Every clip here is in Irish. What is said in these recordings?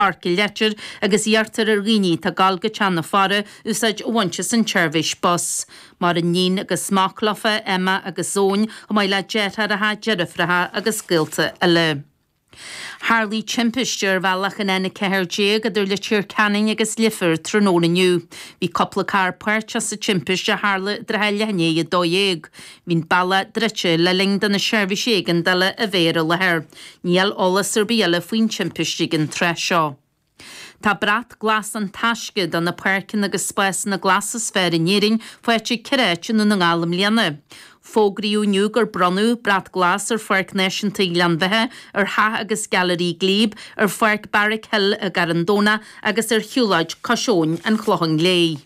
Páirc an Leitir agus iarrtar ar dhaoine atá ag gabháil go Teach na Faire úsáid a bhaint as an tseirbhís bus. Maireann níon agus mac leofa, Emma agus Eoin, chomh maith le deartháireacha, deirfiúracha agus gaolta eile. Tharlaigh timpiste ar bhealach an N14 idir Leitir Ceanainn agus Leifear tráthnóna inniu. Bhí cúpla carr páirteach sa timpiste a tharla i dtrátha leath i ndiaidh 12. Bhí an bealach druidte le linn do na seirbhísí éigeandála a bheith ar an láthair. Níl eolas ar bith eile faoin timpiste ag an tráth seo. Tá Brat Glas An Taisce do na páirceanna agus spásanna glasa is fearr in Éirinn faighte ag 4 áit i nDún na nGall i mbliana. Fógraíodh inniu gur bronnadh Brat Glas ar Pháirc Náisiúnta Ghleann Bheatha, ar Theach agus Gailearaí Glebe, ar Pháirc Barrack Hill i gCarn Domhnach agus ar Shiúlóid Cois Abhainn an Chlocháin Léith.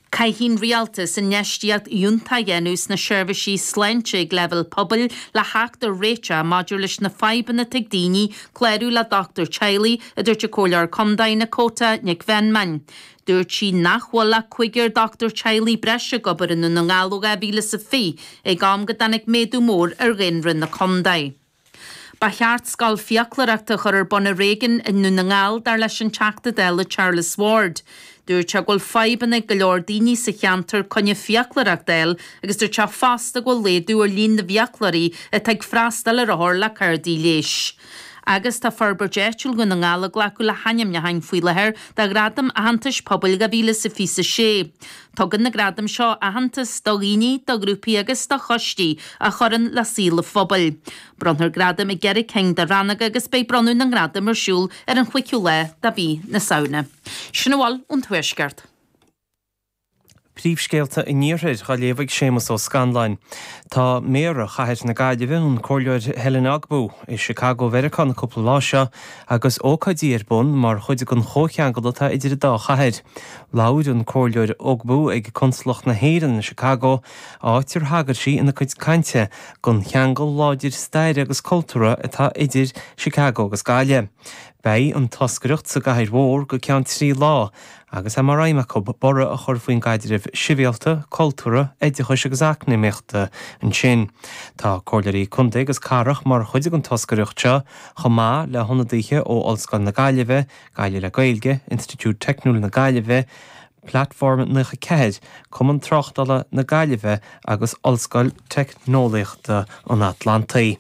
Caithfidh an Rialtas infheistíocht fhiúntach a dhéanamh sna seirbhísí sláinte ag leibhéal pobail le theacht ar réiteach maidir leis na fadhbanna atá ag daoine clárú le dochtúir teaghlaigh, a dúirt an Comhairleoir Contae Nakota Nic Mheanman. Dúirt sí nach bhfuil ach cúigear dochtúir teaghlaigh breise ag obair i nDún na nGall ó 2020, ag am go dtáinig méadú mór ar dhaonra na contae. Ba cheart scoil fiaclóireachta a chur ar bun ar éigean i nDún na nGall, dar leis an Teachta Dála Charles Ward. Dúirt sé go bhfuil fadhbanna ag go leor daoine sa cheantar coinne fiaclóireachta a fháil agus dúirt sé fosta go bhfuil laghdú ar líon na bhfiaclóirí atá ag freastal ar othair le cártaí leighis. Agus tá Forbairt Áitiúil Dhún na nGall ag glacadh le hainmneacháin faoi láthair do Ghradaim Aitheantais Pobail 2026. Tugann na gradaim seo aitheantas do dhaoine, do ghrúpaí agus do choistí a chuireann le saol an phobail. Bronnfar gradaim i gceithre cinn de rannóga agus beidh bronnadh na ngradam ar siúl ar an chúigiú lá de mhí na Samhna. Sin a bhfuil ón Tuaisceart. Príomhscéalta an Iarthair á léamh ag Séamus Ó Scanláin. Tá Méara Chathair na Gaillimhe, an Comhairleoir Helen Ogbu, i Chicago Mheiriceá na cúpla lá seo agus ócáidí ar bun mar chuid den chomhcheangal atá idir an dá chathair. Labhair an Comhairleoir Ogbu ag Consalacht na hÉireann i Chicago, áit ar thagair sí ina cuid cainte don cheangal láidir staire agus cultúrtha atá idir Chicago agus Gaillimh. Beidh an toscaireacht sa gcathair mhór go ceann 3 lá agus é mar aidhm acu borradh a chur faoin gcaidreamh sibhialta, cultúrtha, oideachais agus eacnamaíochta ansin. Tá comhairleoirí contae agus cathrach mar chuid den toscaireacht seo chomh maith le hionadaithe ó Ollscoil na Gaillimhe, Gaillimh le Gaeilge, Institiúid Teicniúil na Gaillimhe, Platform 94, Cumann Tráchtála na Gaillimhe agus Ollscoil Teicneolaíochta an Atlantaigh.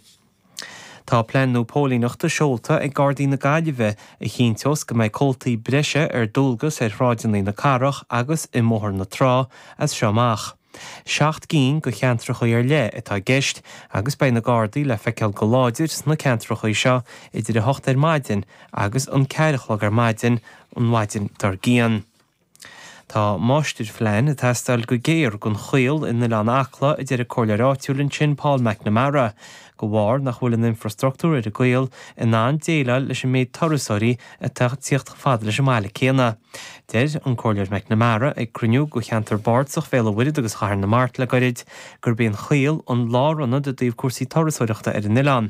Tá plean nua póilíneachta seolta ag Gardaí na Gaillimhe a chinnteos go mbeidh comhaltaí breise ar dualgas ar shráideanna na cathrach agus i mBóthar na Trá as seo amach. 7 gcinn de cheantracha ar leith atá i gceist agus beidh na Gardaí le feiceáil go láidir sna ceantracha seo idir 8 ar maidin agus an 4 a chlog ar maidin an mhaidin dár gcionn. Tá máistirphlean ag teastáil go géar don Choill in Oileán Acla, a deir an comhairleoir áitiúil ansin Paul McNamara, de bharr nach bhfuil an infreastruchtúr ar an gCoill in ann déileáil leis an méid turasóirí atá ag tíocht chomh fada leis an mbaile céanna. Deir an Comhairleoir McNamara ag cruinniú de cheantar bardasach Bhéal an Mhuirthead agus Chathair na Mart le goirid gurb é an Choill an lárionad i dtaobh cúrsaí turasóireachta ar an oileán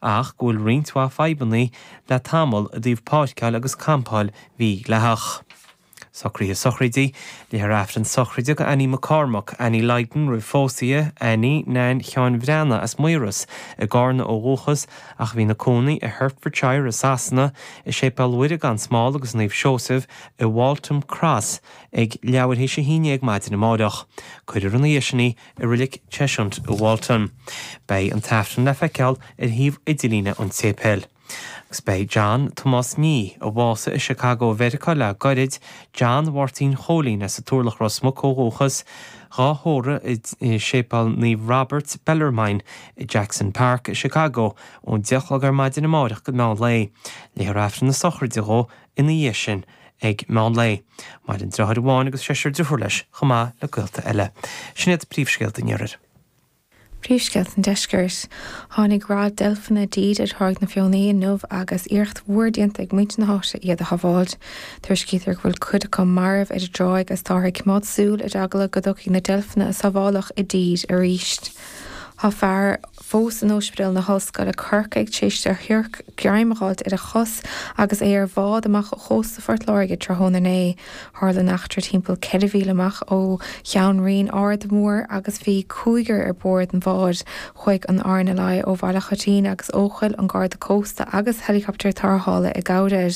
ach go bhfuil roinnt mhaith fadhbanna le tamall i dtaobh páirceáil agus campáil mhídhleathach. Socruithe sochraide, Léifear Aifreann sochraide do Annie McCormack, Annie Lydon roimh phósadh di, Annie Nan Sheáin Bhreathnaigh as Maoras i gCarna ó dhúchas ach a bhí ina cónaí i Hertfordshire i Sasana, i Séipéal Mhuire gan Smál agus Naomh Seosamh i Waltham Cross ag leathuair théis a haon dhéag maidin amáireach. Cuirfear ina dhiaidh sin í i Reilig Cheshunt i Walton. Beidh an tAifreann le feiceáil ar shuíomh idirlíne an tséipéil. Agus beidh John Tomás Nee, a bhásaigh i Chicago Mheiriceá le goirid, John Mháirtín Chóilín as an Turlach Ros Muc ó dhúchas, dhá thórramh i Séipéal Naomh Roberts, Bellarmine, i Jackson Park i Chicago ón 10 a chlog ar maidin amáireach go meán lae. Léifear Aifreann na sochraide dhó ina dhiaidh sin ag meán lae. Maireann deartháir amháin agus seisear driofúr leis, chomh maith le gaolta eile. Sin iad príomhscéalta an Iarthair. Príomhscéalta an Deiscirt. Tháinig rath deilfeanna i dtír ar Thráigh na Feothanaí inniu agus iarracht mhór déanta ag muintir na háite iad a shábháilt. Tuairiscítear go bhfuil cuid acu marbh ar an dtráigh agus táthar ag coimeád súil ar eagla go dtiocfaidh na deilfeanna a sábháladh i dtír arís. Tá fear fós in Ospidéal na hOllscoile, Corcaigh, tar éis do shiorc greim a fháilt ar a chos agus é ar bhád amach ó chósta Phort Láirge tráthnóna inné. Tharla an eachtra timpeall 4 mhíle amach ó Cheann Riain Aird Mhóir agus bhí cúigear ar bord an bháid. Chuaigh an RNLI ó Bhaile Choitín agus Eochaill, an Garda Cósta agus helicopter tarrthála i gcabhair air.